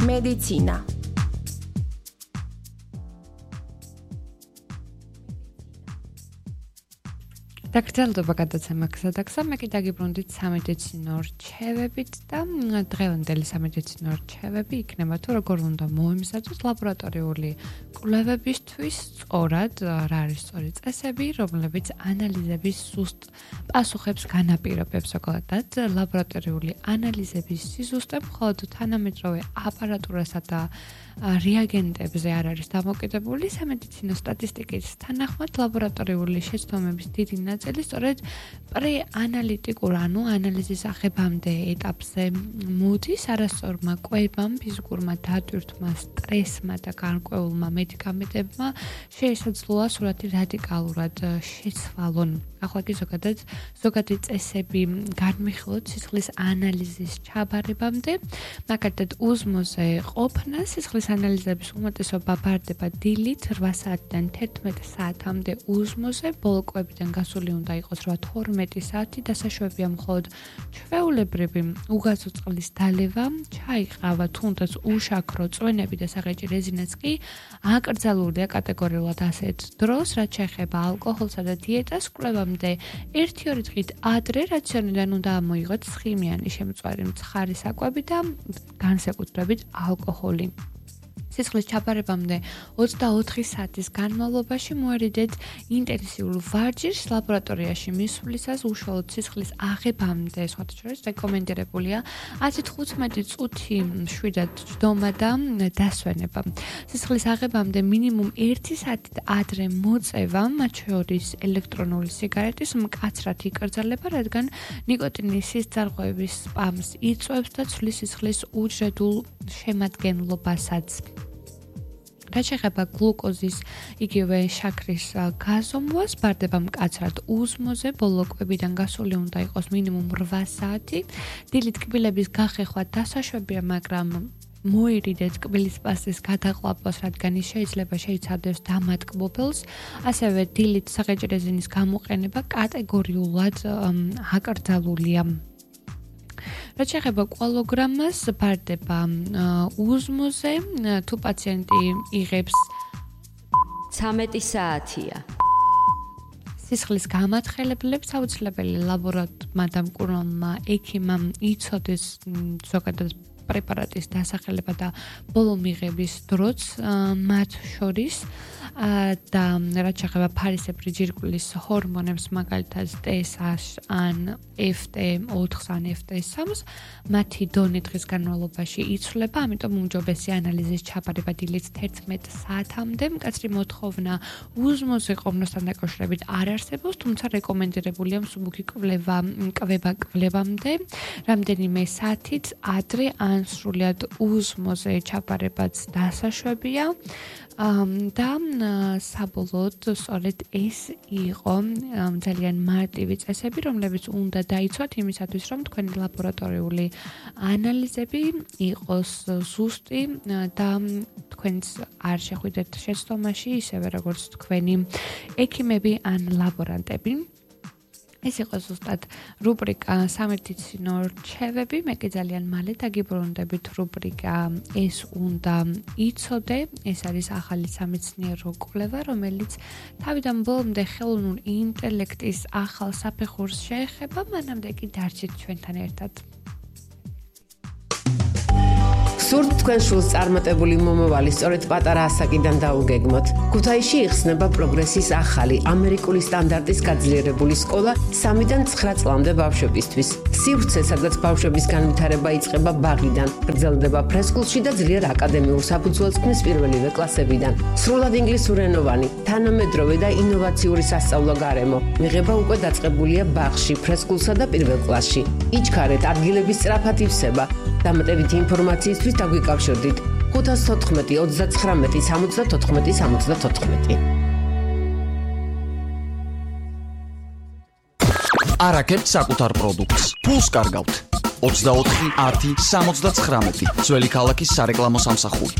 მედიცინა დაგრძელდება გადაცემა გზადაგზა, მე კი დაგიბრუნდით სამედიცინო რჩევებით და დღევანდელი სამედიცინო რჩევები იქნება თუ როგორ უნდა მოემზადოთ ლაბორატორიული კვლევებისთვის სწორად, რა არის სწორი წესები, რომლებიც ანალიზების სუსტ პასუხებს განაპირობებს, ზოგადად ლაბორატორიული ანალიზების სიზუსტე მხოლოდ თანამედროვე აპარატურასა და რეაგენტებზე არ არის დამოკიდებული, სამედიცინო სტატისტიკის თანახმად ლაბორატორიული შეცდომების დიდი ნაწილი სწორედ პრეანალიტიკურ, ანუ ანალიზის აღებამდე ეტაპზე მოდის, არასწორმა კვებამ, ფიზიკურმა დატვირთვმა, სტრესმა და გარკვეულმა მედიკამენტებმა შეესაძლოა სურათი რადიკალურად შეცვალონ. ახლა კი ზოგადი წესები განვიხილოთ სისხლის ანალიზის ჩაბარებამდე, მაგალითად უზმოზე ყოფნა სისხლის ანალიზების უმეტესობა ბარდება დილით 8 საათიდან 11 საათამდე უზმოზე, ბოლო კვებიდან გასული უნდა იყოს 8-12 საათი, დასაშვებია მხოლოდ ჩვეულებრივი უგაზო წყლის დალევა, ჩაი, ყავა, თუნდაც უშაქრო წვენები და საღეჭი რეზინაც კი აკრძალულია კატეგორიულად ასეთ დროს, რაც შეეხება ალკოჰოლსა და დიეტას, კვლევამდე 1-2 დღით ადრე რაციონიდან უნდა ამოიღოთ ცხიმიანი შემწვარი მცხარი საკვები და განსაკუთრებით ალკოჰოლი. სისხლის ჩაბარებამდე 24 საათის განმავლობაში მოერიდეთ ინტენსიურ ვარჯიშს ლაბორატორიაში მისვლისას უშუალოდ სისხლის აღებამდე სხვათა შორის რეკომენდირებულია 115 წუთი მშვიდად ჯდომა და დასვენება. სისხლის აღებამდე მინიმუმ 1 საათით ადრე მოწევა, მათ შორის ელექტრონული სიგარეტის მკაცრად იკრძალება, რადგან ნიკოტინის სისწარღვევის სპამს იწვევს და ცვლის სისხლის უჯრედულ შემადგენლობასაც. რაც შეეხება გლუკოზის იგივე შაქრის გაზომვას, ბარდება მკაცრად უზმოზე, ბოლო კვებიდან გასული უნდა იყოს მინიმუმ 8 საათი. დილით კბილების გახეხვა დასაშვებია, მაგრამ მოერიდეთ კბილის პასტის გადაყლაპვას, რადგან ის შეიძლება შეიცადოს დამატკბობელს. ასევე დილით საღეჭი რეზინის გამოყენება კატეგორიულად აკრძალულია. რაც შეეხება კვალოგრამას, ბარდება უზმოზე, თუ პაციენტი იღებს 13 საათია. სისხლის გამათხელებლებს აუცილებელი ლაბორატორმა და მკურნალმა ექიმამ იცოდეს ზოგადად პრეპარატის დასახელება და ბოლო მიღების დროც მათ შორის და რაც შეეხება ფარისებრი ჯირკვლის ჰორმონებს, მაგალითად TSH ან FT4 ან FT3-ს, მათი დონე დღის განმავლობაში იცვლება, ამიტომ უმჯობესი ანალიზის ჩაბარება დილით 11 საათამდე. მკაცრი მოთხოვნა უზმოზე ყოფნასთან დაკავშირებით არ არსებობს, თუმცა რეკომენდირებულია მსუბუქი კვლევამდე რამდენიმე საათით ადრე ან სრულად უზმოზე ჩაბარებაც დასაშვებია. და საბოლოოდ სწორედ ეს იყო ძალიან მარტივი წესები, რომლებიც უნდა დაიცვათ იმისათვის, რომ თქვენი ლაბორატორიული ანალიზები იყოს ზუსტი და თქვენს არ შეხვიდეთ შეცდომაში, ისევე როგორც თქვენი ექიმები ან ლაბორანტები. ეს იყო ზუსტად რუბრიკა სამედიცინო რჩევები, მე კი ძალიან მალე დაგიბრუნდებით რუბრიკა ეს უნდა იცოდე, ეს არის ახალი სამეცნიერო კვლევა, რომელიც თავიდან ბოლომდე ხელოვნურ ინტელექტის ახალ საფეხურს შეეხება, მანამდე კი დარჩით ჩვენთან ერთად. სურთ თქვენ შულს წარმატებული მომავალი სწორედ პატარა ასაკიდან დაუგეგმოთ. ქუთაისში იხსნება პროგრესის ახალი ამერიკული სტანდარტის გაძლიერებული სკოლა 3-დან 9 წლამდე ბავშვებისთვის. სივრცე, სადაც ბავშვების განვითარება იწყება ბაღიდან, გრძელდება ფრესკულში და ძლიერ აკადემიურ საფუძველს ქმნის პირველივე კლასებიდან. სრულად ინგლისურენოვანი, თანამედროვე და ინოვაციური სასწავლო გარემო. მიღება უკვე დაწყებულია ბაღში, ფრესკულსა და პირველ კლასში. იჩქარეთ, ადგილების სწრაფად ივსება. დამატებითი ინფორმაციისთვის დაგვიკავშირდით 514 39 74 74. არაკებთ საკუთარ პროდუქტს. ფულს კარგავთ. 24 10 79. ძველი ქალაქის სარეკლამო სამსახური.